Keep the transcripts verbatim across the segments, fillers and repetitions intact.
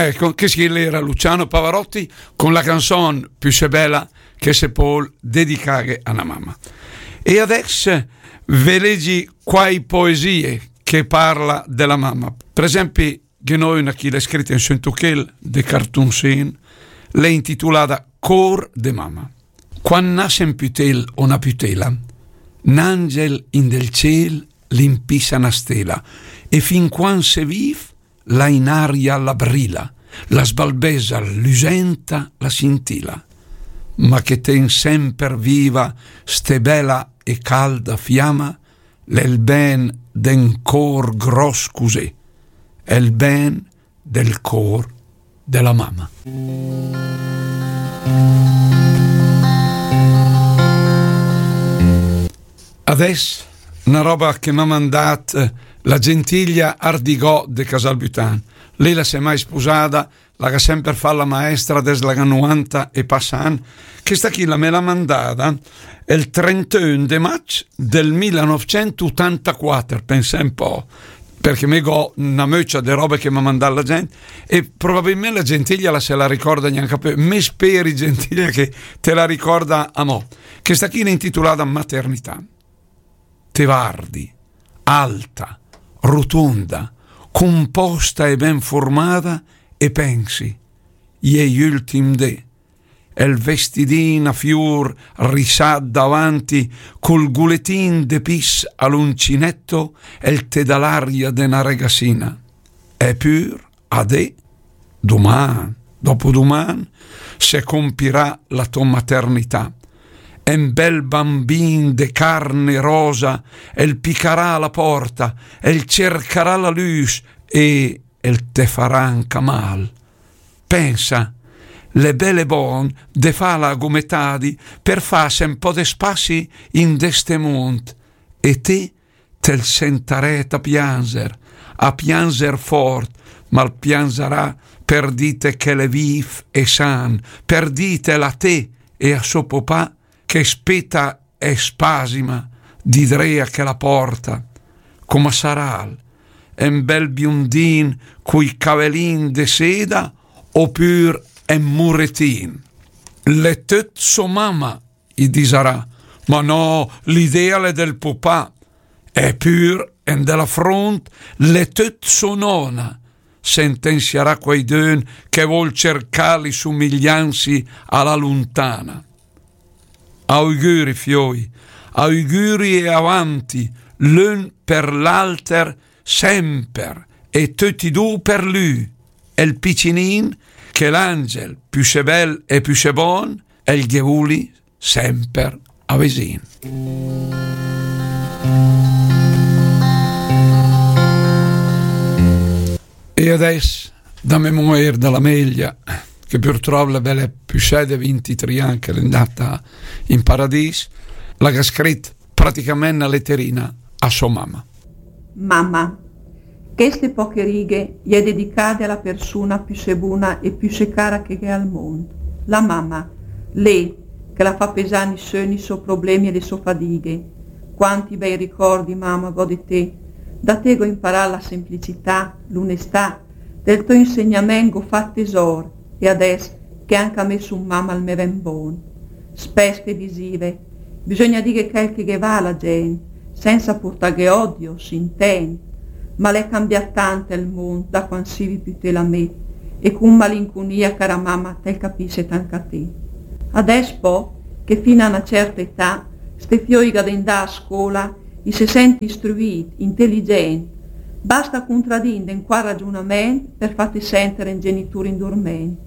Ecco, che schi l'era Luciano Pavarotti con la canzone Più se bella che se pol dedicare a una mamma. E adesso ve leggi quai poesie che parla della mamma. Per esempio, che noi una chi l'è scritta in Santuchel de Cartunsin, l'è intitolada Cor de mamma. Quan nasse un putel o una putela, un angel in del ciel l'impissa una stela, e fin quan se viv la in aria la brila, la sbalbesa, lusenta la sintila. Ma che ten semper viva ste bela e calda fiamma, l'è il ben d'un cor gros cusì, è il ben del cor della mamma. Adess una roba che m'ha mandat la Gentilia Ardigò de Casalbutan. Lei la s'è mai spusada, la ga semper fa la maestra des la ga novanta e passa ann. Questa chi la me l'ha mandada el trenteun de maig del millenovecentottantaquatter, pensè un po', perché me go una möcia de robe che m'ha mandat la gent, e probabilment la Gentilia la se la ricorda gnanca piö. Me speri, Gentilia, che te la ricorda amò. Questa chi l'è intitolada Maternità. Te vardi, alta, rotonda, composta e ben formada, e pensi, i è i ultim dé, el vestidin a fior risat davanti, col guletin de pis a l'uncinetto, el te dà l'aria de na regassina. Epür, adé, duman, dopoduman, se compirà la to maternità. Un bel bambin de carne rosa, el picarà a la porta, el cercarà la lüs e el te farà anca mal. Pensa, l'è bel e bon de fala a gometadi per fas un po' de spassi in de ste mond, e te te'l sentarét a pianzer, a pianzer fort, ma 'l pianzarà per dite che l'è viv e san, per ditel a te e a so popà che speta e spasima di dré a chela porta. Coma saràl, un bel biondin cui cavelin de seda, opür un muretin? L'è töt so mama, i disarà, ma no, l'idea l'è del pupà. Epür, en de la front, l'è töt so nona, sentensiarà quaidün che vol cercà li sumiglianzi a la luntana. Augüri, fioi, augüri e avanti, l'ün per l'alter, semper, e töti du per lü, el picinin, che l'angel, püssé bel e püssé bon, el ghe vuli semper avisin. E adess, da memoria de la Melia, che purtrop l'è bela püssé de vintitrì ann che l'è andata in paradis, la ga scrit praticament na letterina a so mama. Mama. Cheste poche righe i è dedicade a la persuna püssé buna e püssé cara che gh'è al mond, la mama, lé che la fa pesà i sö, i so problemi e le so fadighe. Quanti bei ricordi, mama, gh'ò de te. Da te gh'ò imparà la semplicità, l'onestà, del to insegnament gh'ò fat tesor, e adess che anca me sun mama al me ven bon. Spess te disive, bisogna dighe chel che ghe va a la gent, senza purtaghe odio, s'intend. Ma l'è cambiat tant el mond da quand sivi püté la me, e cun malincunia, cara mama, te'l capisset anca te. Adess po, che fin a na certa età, ste fioi gh'à de 'ndà a scola, i se sent istruit, intelligent, basta cuntradì 'nd un quach ragiunament per fatte senter un genitur indurment.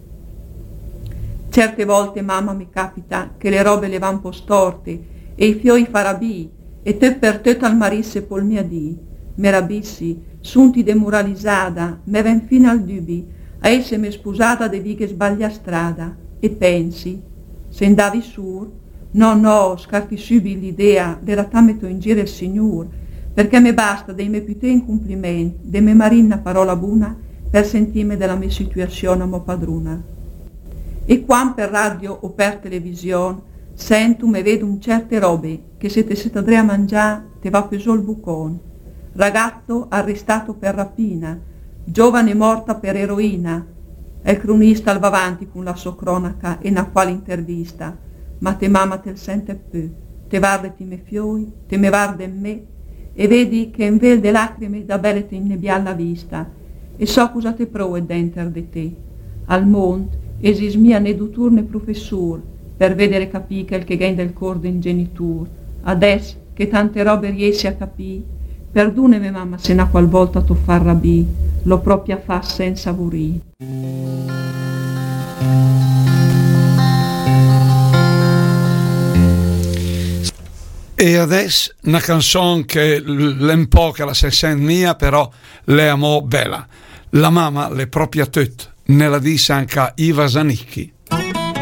Certe volte, mama, me capita che le robe le va un po' storte e i fioi i fa rabì e töt per töt al marisse pol mia dì. Me rabissi, sunti demuralizada, me ven fin al dübi a esseme spusada de dighe sbaglià strada, e pensi, se 'ndavi sur, no, no, scarti sübit l'idea de latà meto in gir el Signur, perché me basta dei me püté incumpliment, de me marì na parola buna, per sentime de la me situazion amò padruna. E quand per radio o per television sentu, me vedun certe robe, che se te set adré a mangià, te va pö zó 'l bucon. Ragazzo arrestato per rapina, giovane morta per eroina. El cronista al va avanti cun la sò cronaca e na qual intervista, ma te mama te l sente pü, te vardet i me fioi, te me vardet me, e vedi che en vel de lacrime da bele te innebià la vista, e so cosa te provet denter de te. Al mond esist mia né dutur né professur per vedere capì quel che gh'è del cor de un genitur. Adess che tante robe riessi a capì, perduneme mama se na qual volta t'ho fà rabì, l'ho propia fà senza vurì. E adess na canzon che l- l'è un po' che la se sent mia, però l'è amò bela. La mama l'è propia töt, ne la dis anca Iva Zanicchi.